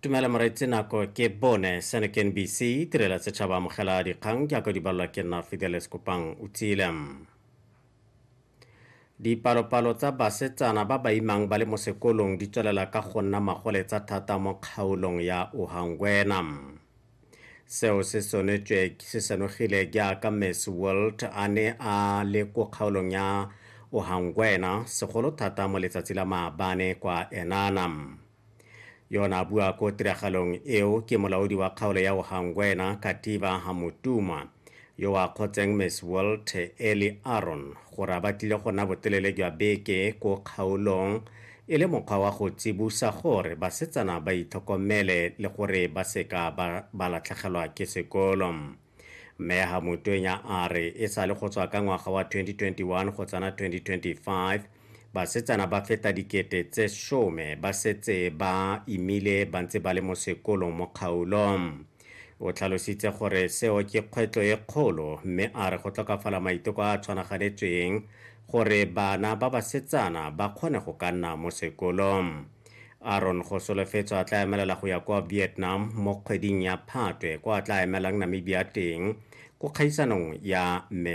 Tumela moreetsi, nako ke bone. Seno ke NBC, tirelo ya setšhaba. Amogela dikgang jaaka di balelwa ke nna Fidelis Kopang o tsile. Dipalopalo tsa basetsana ba ba imang ba le mo sekolong di tswelela ka go nna magoletsa thata mo kgaolong ya Ohangwena. Seo se sonetswe se senogile jaaka Miss World a ne a le ko kgaolong ya Ohangwena segolo thata mo letsatsi la maabane kwa Enana. Yona a bua ko tiragalong eo ke molaodi wa kgaolo ya Ohangwena Kativa Hamutuma, yo a kgotseng Miss World Eli Aron gore a batlile go nna botelele jwa beke ko kgaolong e le mokgwa wa go tsibosa gore basetsana ba itlhokomele le gore ba seka ba latlhegelwa ke sekolo. Mme Hamutwenya a re e sa le go tswa ka ngwaga wa 2021 go tsena 2025, basetsana ba feta 10,000 ba setse ba imile ba ntse ba le mo sekolong mo kgaolong. O tlhalositse gore seo ke kgwetlho e kgolo, mme a re go tlhokafala maiteko a a tshwanaganetsweng gore bana ba basetsana ba kgone go ka nna mo sekolong. Aron go solofetswa a tla emelela go ya kwa Vietnam mo kgweding ya Phatwe, kwa a tla emelang Namibia teng ko kgaisanong ya